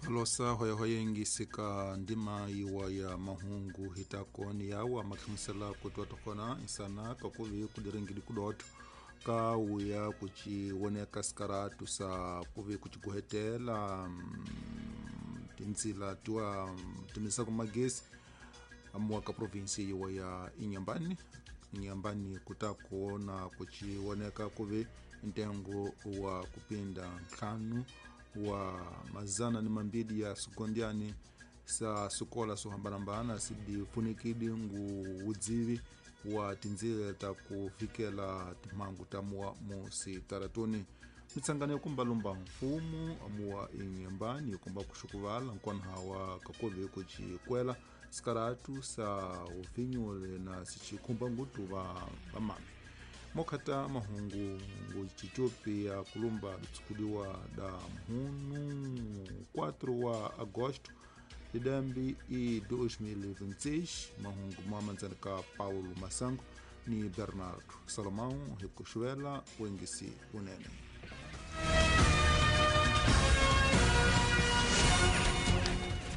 Losa hoyahoya ndima yiwa ya mahungu hitakoni yawa mahlamusela kutwa tokona insana kakuvi kudiringidi kudoto ka wuya kuchiwoneka sikaratu sa kuvi kuchiguhetela tinzila tiwa timisa kumagesi amuwa ka provinsi yiwa ya Inhambane. Inhambane kutakuona kuchiwoneka kuvi ntengo wa kupinda ntlhanu wa mazana ni mambili ya sukondiani sa sukola suhambanambana sidifunikidi ngu udzivi wa tinzila ta kufikela timhangu ta muwa musitaratuni. Mitsangano yo kumbalumba mfumu amuwa Inhambane yokumba kuxukuvala nkwanahawa kakuvi kucikwela sikaratu sa ufinyule na sicikhumba ngutu va vamame. Mokhata mahungu ngucicopi ya kulumba litsukudiwa da mhunu 4 wa agosto lidambi i 2026. Mahungu mwamandzana ka Paulo Masango ni Bernardo Salomão hi kuxuvela wengisi unene.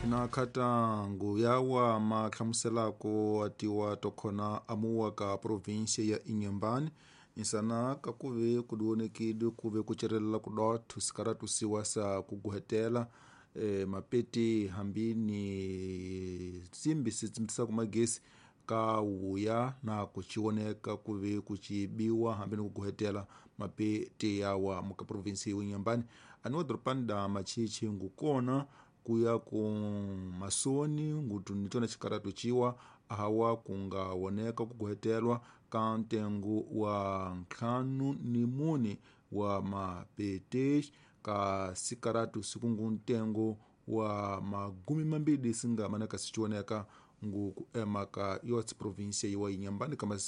Na khatangu yawa mahlamuselako atiwa tokhona amuwa ka província ya Inhambane insana kakuve kudiwonekidi kuve kucerelela kudotho sikaratu siwa sa kuguhetela mapeti hambini simbi sitsimbisa kumagesi ka wuya na kuchiwoneka kuve kuchibiwa hambini kuguhetela mapeti yawa muka província ya Inhambane aniwa doropani da machichi ngukona kuya ku masoni ngutu nitona xikaratu ciwa ahawa kungawoneka kuguhetelwa ka ntengo wa 54 wa mapete ka sikaratu sikungu ntengo wa 20 singa manaka sichiwoneka ngu kuema ka yotsi província yiwa Inhambane kama.